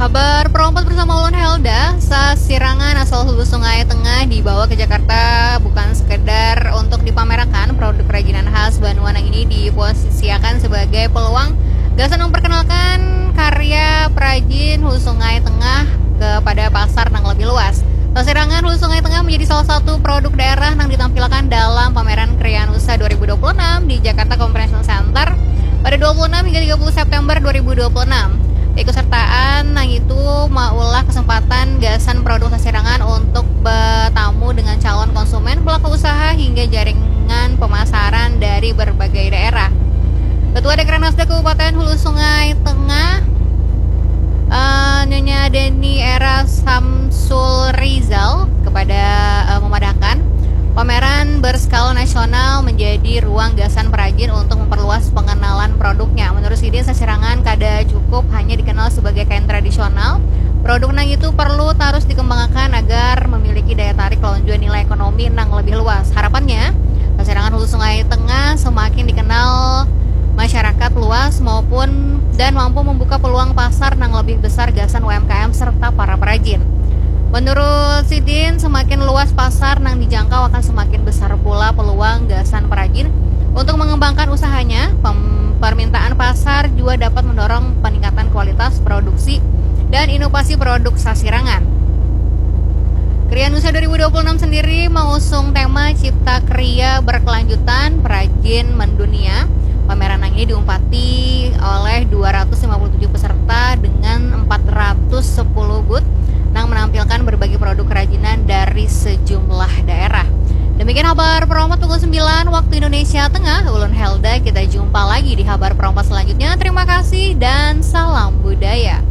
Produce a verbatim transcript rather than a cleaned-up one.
Berperompat bersama ulun Helda, sasirangan asal Hulu Sungai Tengah dibawa ke Jakarta bukan sekedar untuk dipamerakan, produk kerajinan khas banua nang ini diposisiakan sebagai peluang gasan memperkenalkan karya perajin Hulu Sungai Tengah kepada pasar nang lebih luas. Sasirangan Hulu Sungai Tengah menjadi salah satu produk daerah yang ditampilkan dalam pameran Krianusa dua ribu dua puluh enam di Jakarta Convention Center pada dua puluh enam hingga tiga puluh September dua ribu dua puluh enam. Keikutsertaan nang itu maulah kesempatan gasan produk sasirangan untuk bertamu dengan calon konsumen, pelaku usaha, hingga jaringan pemasaran dari berbagai daerah. Ketua Dekranasda Kabupaten Hulu Sungai Tengah, eh, Nyonya Deni Era Samsul Rizal kepada, eh, memadahkan, pameran berskala nasional menjadi ruang gasan perajin untuk memperluas pengenalan produknya. Menurut sidin, sasirangan kada cukup hanya dikenal sebagai kain tradisional. Produk nang itu perlu tarus dikembangkan agar memiliki daya tarik lawan jua nilai ekonomi nang lebih luas. Harapannya, sasirangan Hulu Sungai Tengah semakin dikenal masyarakat luas maupun dan mampu membuka peluang pasar nang lebih besar gasan U M K M serta para perajin. Menurut sidin, semakin luas pasar nang dijangkau akan semakin besar pula peluang gasan perajin untuk mengembangkan usahanya. Pem- permintaan pasar juga dapat mendorong peningkatan kualitas produksi dan inovasi produk sasirangan. Krianusa dua ribu dua puluh enam sendiri mengusung tema Cipta Kria Berkelanjutan Perajin Mendunia. Pameran nang ini diumpati oleh dua ratus lima puluh tujuh peserta dengan empat ratus sepuluh booth nang menampilkan berbagai produk kerajinan dari sejumlah daerah. Demikian Habar Perompat pukul sembilan waktu Indonesia Tengah. Ulun Helda, kita jumpa lagi di Habar Perompat selanjutnya. Terima kasih dan salam budaya.